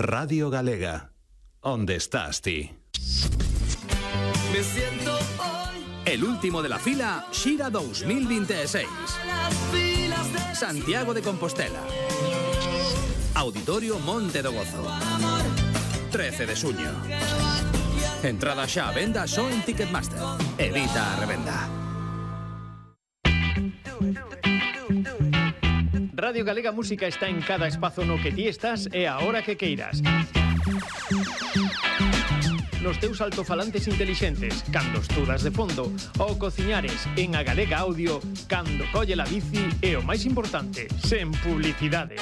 Radio Galega. ¿Dónde estás ti? Me siento hoy. El último de la fila, Xira 2026. Santiago de Compostela. Auditorio Monte do Gozo. 13 de xuño. Entrada xa a venda só en Ticketmaster. Evita a revenda. Radio Galega Música está en cada espazo no que ti estás e a hora que queiras. Nos teus altofalantes intelixentes, cando estudas de fondo, ou cociñares en a Galega Audio, cando colle la bici e o máis importante, sen publicidade.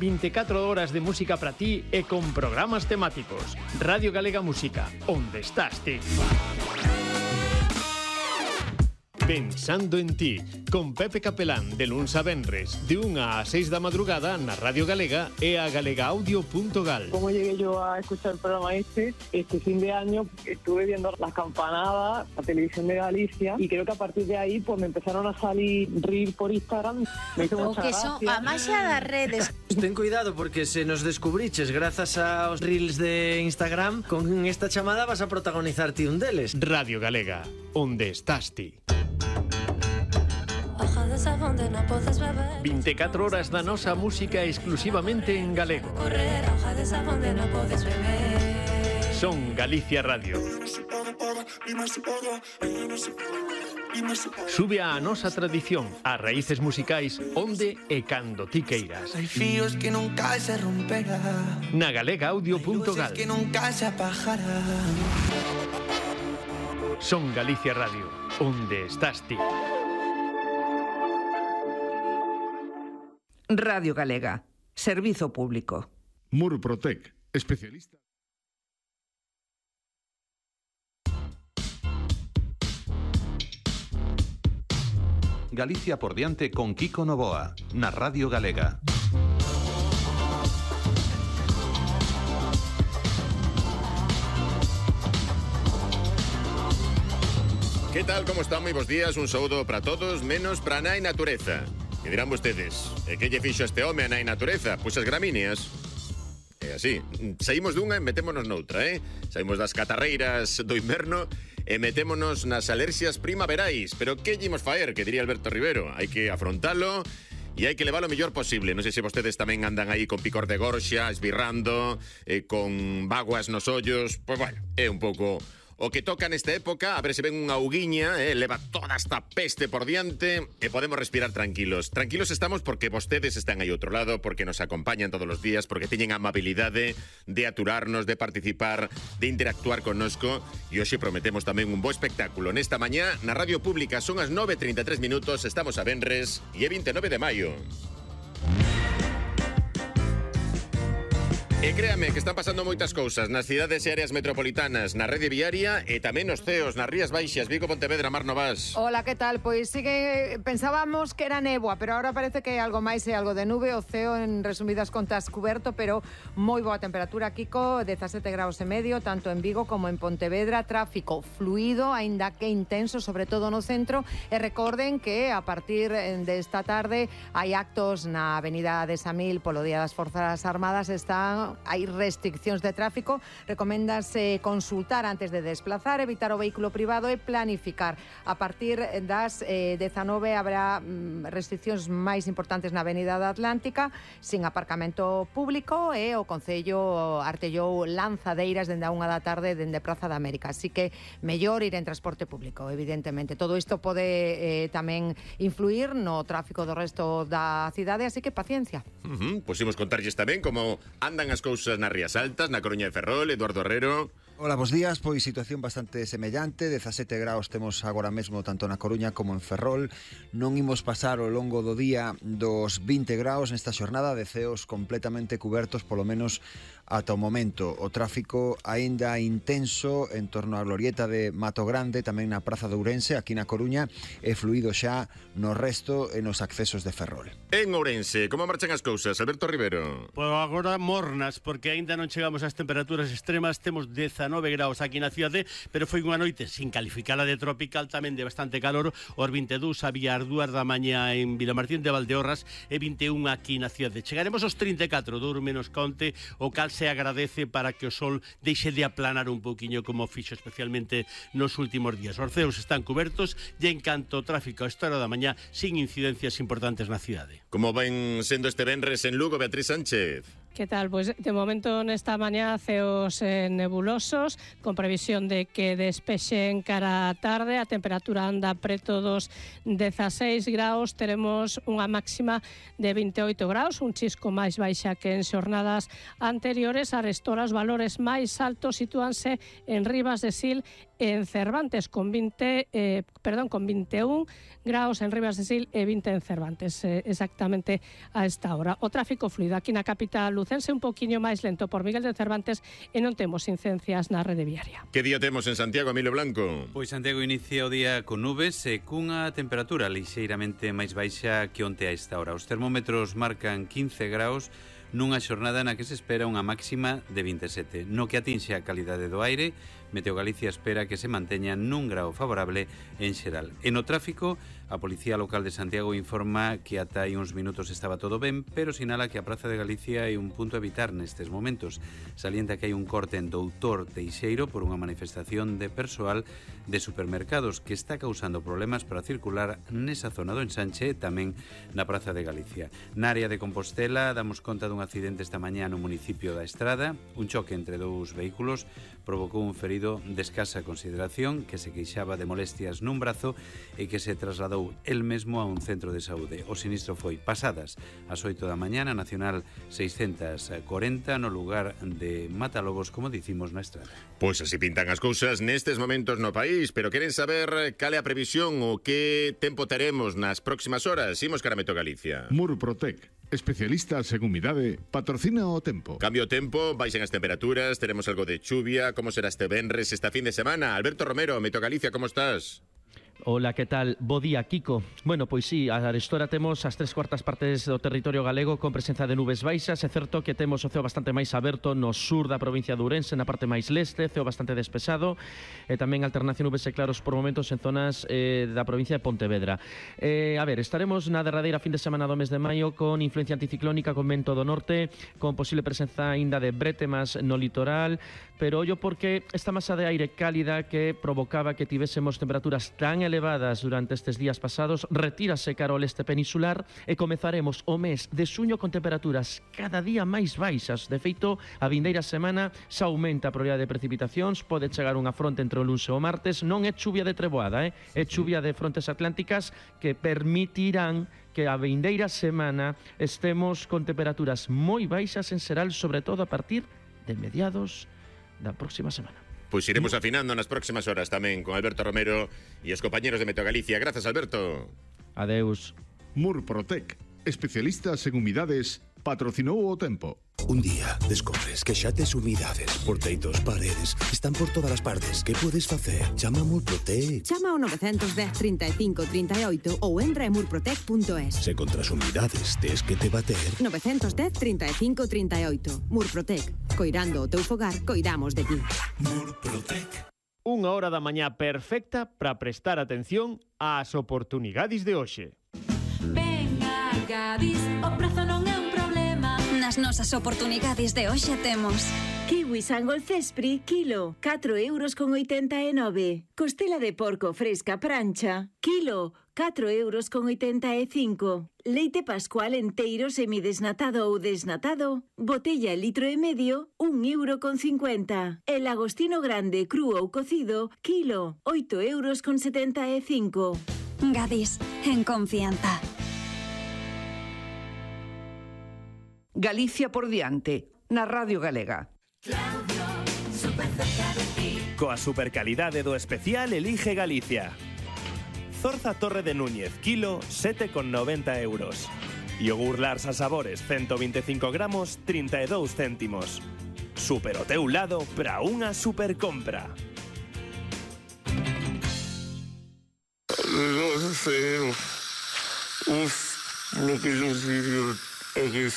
24 horas de música para ti e con programas temáticos. Radio Galega Música, onde estás ti? Pensando en ti, con Pepe Capelán, de luns a venres, de 1 a 6 da madrugada na Radio Galega e a galegaaudio.gal. Como llegué yo a escuchar el programa este fin de año estuve viendo las campanadas, la televisión de Galicia, y creo que a partir de ahí pues me empezaron a salir reels por Instagram. Me hizo mucha gracia. O que son a maxia das redes. Ten cuidado porque se nos descubriches grazas aos reels de Instagram, con esta chamada vas a protagonizar ti un deles. Radio Galega, onde estás ti? 24 horas da nosa música exclusivamente en galego. Son Galicia Radio. Sube a nosa tradición, a raíces musicais, onde e cando ti queiras. Hay fíos que nunca se romperán, Na galegaaudio.gal. que nunca se apagarán. Son Galicia Radio, onde estás ti? Radio Galega, servizo público. Murprotec, especialista. Galicia por diante con Kiko Novoa, na Radio Galega. ¿Qué tal? ¿Cómo están? Muy buenos días. Un saludo para todos, menos para Nai Natureza. Que dirán vostedes, que lle fixo este home a Nai Natureza? Pois as gramíneas. É así, saímos dunha e metémonos noutra, Saímos das catarreiras do inverno e metémonos nas alerxias primaverais. Pero que llemos faer, que diría Alberto Rivero? Hai que afrontalo e hai que levar o mellor posible. Non sei se vostedes tamén andan aí con picor de gorxa, esbirrando, con vaguas nos ollos. Pois bueno, é un pouco o que toca nesta época. A ver se ven unha auguiña, leva toda esta peste por diante e podemos respirar tranquilos. Tranquilos estamos porque vostedes están aí outro lado, porque nos acompañan todos os días, porque teñen a amabilidade de aturarnos, de participar, de interactuar connosco, e hoxe prometemos tamén un bo espectáculo. Nesta mañá, na Radio Pública, son as 9:33 minutos, estamos a venres e é 29 de maio. E créame que están pasando moitas cousas nas cidades e áreas metropolitanas, na rede viaria e tamén nos ceos, nas Rías Baixas, Vigo, Pontevedra, Mar Novas. Hola, ¿qué tal? Pois sí que pensábamos que era néboa, pero ahora parece que algo máis é algo de nube, o ceo en resumidas contas cuberto, pero moi boa temperatura, Kiko, 17 graus e medio, tanto en Vigo como en Pontevedra, tráfico fluido, aínda que intenso, sobre todo no centro, e recorden que a partir desta tarde hai actos na Avenida de Samil polo Día das Forzas Armadas, hai restriccións de tráfico, recoméndase consultar antes de desplazar, evitar o vehículo privado e planificar. A partir das 19 habrá restriccións máis importantes na Avenida da Atlántica, sin aparcamento público, e o Concello artellou lanzadeiras dende a 1 da tarde dende Praza da América, así que mellor ir en transporte público, evidentemente. Todo isto pode tamén influir no tráfico do resto da cidade, así que paciencia. Pois imos contarlles tamén como andan as cousas nas Rías Altas, na Coruña de Ferrol. Eduardo Herrero. Hola, bos días. Pois situación bastante semellante, 17 graus temos agora mesmo tanto na Coruña como en Ferrol. Non imos pasar ao longo do día dos 20 graus nesta xornada, de ceos completamente cubertos, polo menos ata o momento. O tráfico aínda intenso en torno á glorieta de Mato Grande, tamén na Praza de Ourense, aquí na Coruña, e fluído xa no resto e nos accesos de Ferrol. En Ourense, como marchan as cousas, Alberto Rivero? Pois agora mornas, porque aínda non chegamos ás temperaturas extremas, temos 19 graus aquí na cidade, pero foi unha noite sin calificala de tropical, tamén de bastante calor, os 22 había as 2 da mañá en Vilamartín de Valdeorras e 21 aquí na cidade. Chegaremos aos 34, duro menos conte, o cal se agradece para que o sol deixe de aplanar un poquinho como fixo especialmente nos últimos días. Os ceos están cubertos e en canto ao tráfico a esta hora da mañá sin incidencias importantes na cidade. Como ven sendo este venres en Lugo, Beatriz Sánchez? Que tal? Pois de momento nesta mañá ceos nebulosos, con previsión de que despexen cara a tarde, a temperatura anda preto dos 16 graus, teremos unha máxima de 28 graus, un chisco máis baixa que en xornadas anteriores. Arestora os valores máis altos sitúanse en Ribas de Sil e en Cervantes, con 21 graus en Ribas de Sil e 20 en Cervantes, exactamente a esta hora. O tráfico fluido aquí na capital lucense un poquinho máis lento por Miguel de Cervantes e non temos incidencias na rede viaria. Que día temos en Santiago, Emilio Blanco? Pois Santiago inicia o día con nubes e cunha temperatura lixeiramente máis baixa que onte a esta hora. Os termómetros marcan 15 graus nunha xornada na que se espera unha máxima de 27. No que atinxe a calidade do aire, Meteo Galicia espera que se manteña nun grau favorable en xeral. E no tráfico, a Policía Local de Santiago informa que ata hai uns minutos estaba todo ben, pero sinala que a Praza de Galicia é un punto a evitar nestes momentos. Salienta que hai un corte en Doutor Teixeiro por unha manifestación de persoal de supermercados que está causando problemas para circular nesa zona do ensanche, tamén na Praza de Galicia. Na área de Compostela damos conta dun accidente esta mañá no municipio da Estrada. Un choque entre dous vehículos provocou un ferido de escasa consideración que se queixaba de molestias nun brazo e que se trasladou el mesmo a un centro de saúde. O sinistro foi pasadas ás 8 da mañá na Nacional 640 no lugar de Matalobos, como dicimos na Estrada. Pois así pintan as cousas nestes momentos no país, pero queren saber cal é a previsión ou que tempo teremos nas próximas horas. Imos cara a Meteo Galicia. Murprotec, especialistas en humidade, patrocina o tempo. Cambio o tempo, baixen as temperaturas, teremos algo de chuvia. Como será este venres, esta fin de semana? Alberto Romero, Meteo Galicia, como estás? Ola, que tal? Bo día, Kiko. Bueno, pois sí, a arestora temos as 3/4 partes do territorio galego con presenza de nubes baixas. É certo que temos o ceo bastante máis aberto no sur da provincia de Ourense, na parte máis leste, ceo bastante despexado, e tamén alternación nubes e claros por momentos en zonas da provincia de Pontevedra. A ver, estaremos na derradeira fin de semana do mes de maio con influencia anticiclónica, con vento do norte, con posible presenza aínda de brétemas no litoral, pero ollo porque esta masa de aire cálida que provocaba que tivésemos temperaturas tan elevadas durante estes días pasados retírase cara ao leste peninsular e comezaremos o mes de xuño con temperaturas cada día máis baixas. De feito, a vindeira semana xa aumenta a probabilidade de precipitacións, pode chegar unha fronte entre o luns e o martes. Non é chuvia de treboada, é chuvia de frontes atlánticas que permitirán que a vindeira semana estemos con temperaturas moi baixas en xeral, sobre todo a partir de mediados da próxima semana. Pois iremos afinando nas próximas horas tamén con Alberto Romero e os compañeros de Meteo Galicia. Grazas, Alberto. Adeus. Murprotec, especialistas en humidades, patrocinou o tempo. Un día descobres que xa tes humidades por teitos, paredes, están por todas as partes. Que podes facer? Chama a Murprotec. Chama ao 910 35 38 ou entra en murprotec.es. Se contra as humidades tes que te bater. 910 35 38. Murprotec. Coirando o teu fogar, coidamos de ti. Murprotec. Unha hora da mañá perfecta para prestar atención ás oportunidades de hoxe. Venga, Gadis, o prezo non é un problema. Nas nosas oportunidades de hoxe temos kiwi Sangol Cespri, kilo, 4,89 €. Costela de porco fresca prancha, kilo, 4,85 €. Leite Pascual enteiro semidesnatado ou desnatado, botella litro e medio, 1,50 €. El Agostino grande cru ou cocido, kilo, 8,75 €. Gadis, en confianza. Galicia por diante, na Radio Galega. Coa supercalidade do especial elige Galicia. Zorza Torre de Núñez, kilo, 7,90 €. Yogur Lars a sabores, 125 gramos, 32 céntimos. Super o teu lado para unha super compra. No sé. Lo que yo digo é que...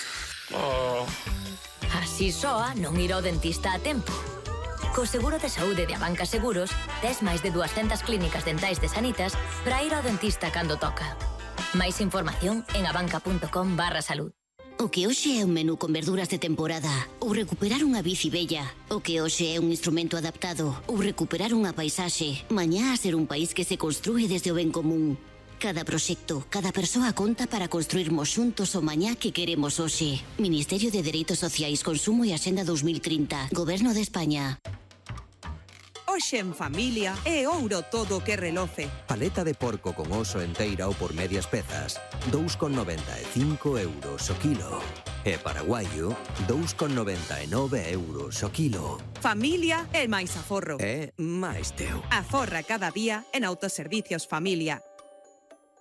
Así soa non ir ao dentista a tempo. Co seguro de saúde de Abanca Seguros, tes máis de 200 clínicas dentais de Sanitas para ir ao dentista cando toca. Máis información en abanca.com/salud. O que hoxe é un menú con verduras de temporada, ou recuperar unha bici bella. O que hoxe é un instrumento adaptado, ou recuperar unha paisaxe. Mañá a ser un país que se construe desde o ben común. Cada proxecto, cada persoa conta para construirmos xuntos o mañá que queremos hoxe. Ministerio de Dereitos Sociais, Consumo e Axenda 2030. Goberno de España. Hoxe en familia é ouro todo o que reloce. Paleta de porco con oso enteira ou por medias pezas, 2,95 euros o kilo. E paraguaio, 2,99 euros o kilo. Familia é máis aforro. É máis teu. Aforra cada día en Autoservicios Familia.